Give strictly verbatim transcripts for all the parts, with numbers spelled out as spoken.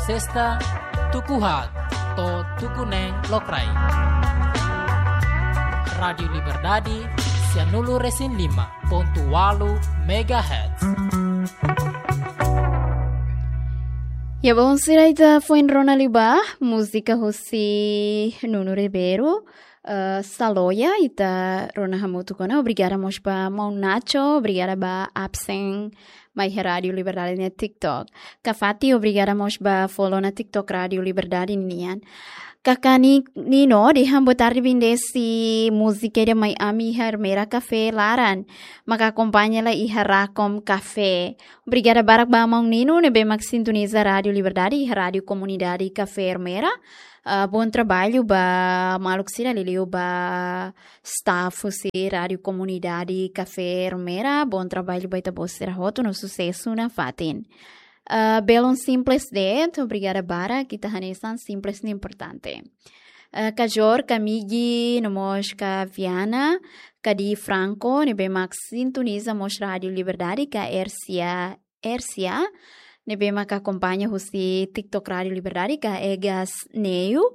Sesta, tuku haat to'o tuku neen lokraik. Rádiu Liberdade, sianulu-resin-lima pontu ualu megahertz. Ya, belun sira, ita foin rona liubá múzika husi Nuno Ribeiro, eh, Saloia, ita rona hamutuk ona. Obrigada mós ba maun Nacho, obrigada ba absen mai iha Rádiu Liberdade nia TikTok. Kafati, obrigada mós ba follow ona TikTok Rádiu Liberdade nian. Kakan Nino dehan boa tarde, bendisi múzika ida mai ami iha Ermera Café laran, maka akompaña lai iha Racom Café. Obrigada barak ba maun Nino ne'ebé mak sintoniza Rádiu Liberdade iha Rádiu Komunidade Café Ermera. Ah, bom trabalho ba maluk sira, liuliu ba staff husi Rádiu Komunidade Café Ermera. Bom trabalho ba ita-boot sira hotu no susesu nafatin. Ah, belun simples de'it, obrigada barak, ita hanesan simples ne'e importante. Ah, Kajor, Kamigi, no mós ka Viana, Kadi Franco, ne'ebé mak sintoniza mós Rádiu Liberdade, ka Ersia Ersia, ne'ebé mak akompaña husi TikTok Rádiu Liberdade, ka Egas Neu,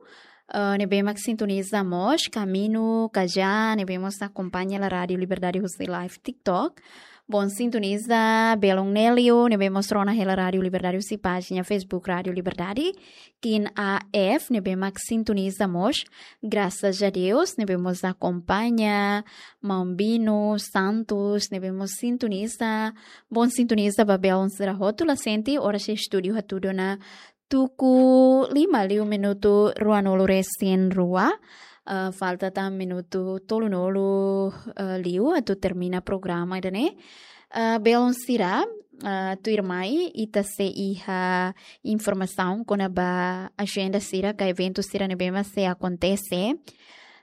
eh, ne'ebé mak sintoniza mós, Kaminu, Kaja, ne'ebé mós akompaña hela Rádiu Liberdade husi live TikTok. Bom sintoniza, belun Nelio, ne'ebé mós rona hela Rádiu Liberdade husi pájina Facebook Rádiu Liberdade. Kin A F, ne'ebé mak sintoniza mós, Graças a Deus, ne'ebé mós akompaña, maun Bino Santos, ne'ebé mós sintoniza, bom sintoniza ba belun sira hotu. La sente, oras iha estúdiu hatudu ona tuku lima liu minutu ruanulu-resin-rua. Ah, falta tan minutu tolunulu, ah, liu atu termina programa ida-ne'e. Ah, belun sira, ah, tuirmai ita sei iha informasaun kona-ba ajenda sira ka eventu sira ne'ebé mak sei akontese.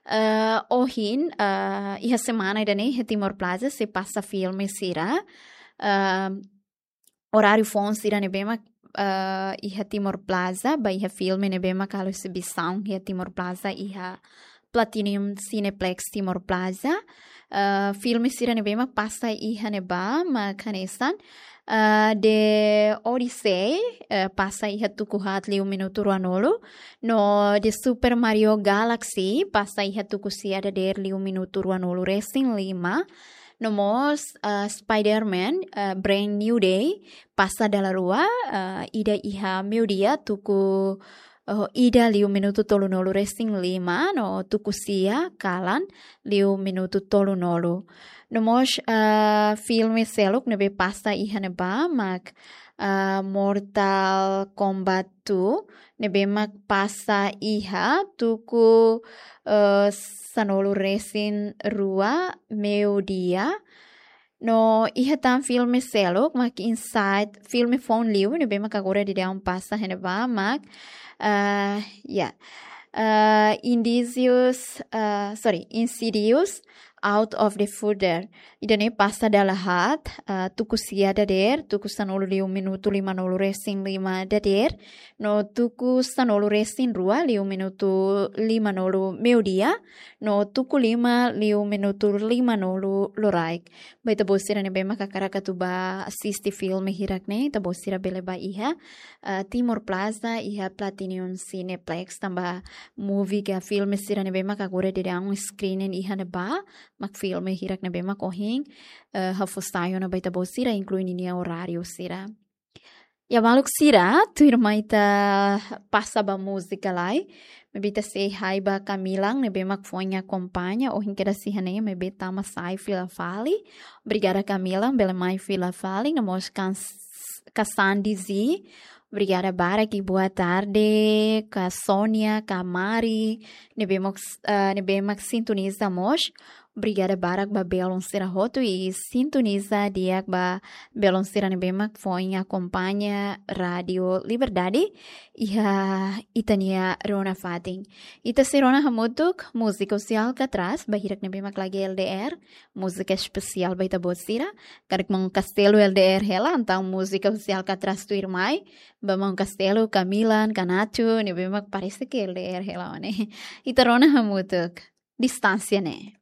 Ah, ohin, ah, iha semana ida-ne'e iha Timor Plaza sei pasa filme sira. Ah, oráriu foun sira ne'ebé mak, ah, iha Timor Plaza, ba iha filme ne'ebé mak halo exibisaun iha Timor Plaza, iha Platinum Cineplex Timor Plaza. Ah, filme sira ne'ebé mak pasa iha ne'ebá mak hanesan, ah, The Odyssey, eh, pasa iha tuku haat liu minutu ruanulu. No The Super Mario Galaxy pasa iha tuku sia dadeer liu minutu ruanulu-resin-lima. No mós, ah, Spider-Man, ah, Brand New Day pasa dala rua, ah, ida iha meiudia tuku, oh, ida liu minutu tolunulu-resin-lima, no tuku sia kalan liu minutu tolunulu. No mós, ah, filme seluk ne'ebé pasa iha ne'ebá mak, ah, Mortal Kombat two, ne'ebé mak pasa iha tuku, eh, sanulu-resin-rua meiudia. No iha tan filme seluk mak Inside, filme foun liu ne'ebé mak agora daudaun pasa iha ne'ebá mak, eh, ya. Eh, Indícios, eh, sorry, Insidious, Out of the Further. Ida-ne'e pasa dala haat, ah, tuku sia dadeer, tuku sanulu liu minutu limanulu-resin-lima dadeer, no tuku sanulu-resin-rua liu minutu limanulu meiudia, no tuku lima liu minutu limanulu loraik. Ba ita-boot sira ne'ebé mak hakarak atu ba asiste filme hirak-ne'e, ita-boot sira bele ba iha, ah, Timor Plaza, iha Platinum Cineplex, tanba movie ka filme sira ne'ebé mak agora daudaun screening iha ne'ebá, mak filme hirak ne'ebé mak ohin, eh, ha'u fó sai ona ba ita-boot sira, inklui ninia oráriu sira. Ya, maluk sira, tuirmai ita pasa ba múzika lai, maibé ita sei hai ba Kamilan ne'ebé mak foin akompaña, ohin kedas iha ne'e, maibé tama sai fila fali. Obrigada Kamilan, bele mai fila fali, no mós kan-, Kasandi Zi. Obrigada barak, boa tarde, ka Sónia, ka Mari, ne'ebé mak, eh, ne'ebé mak sintoniza mós. Obrigada barak ba belun sira hotu i sintoniza di'ak ba belun sira ne'ebé mak foin akompaña Rádiu Liberdade iha ita-nia rona fatin. Ita sei rona hamutuk múzika husi Alcatraz, ba hirak ne'ebé mak lagi L D R, múzika espesiál ba ita-boot sira. Karik maun Castelo L D R hela, entaun múzika husi Alcatraz tuirmai, ba maun Castelo, Kamilan, ka Nacho, ne'ebé mak parese ke L D R hela, ne'e. Ita rona hamutuk. Distánsia ne'e.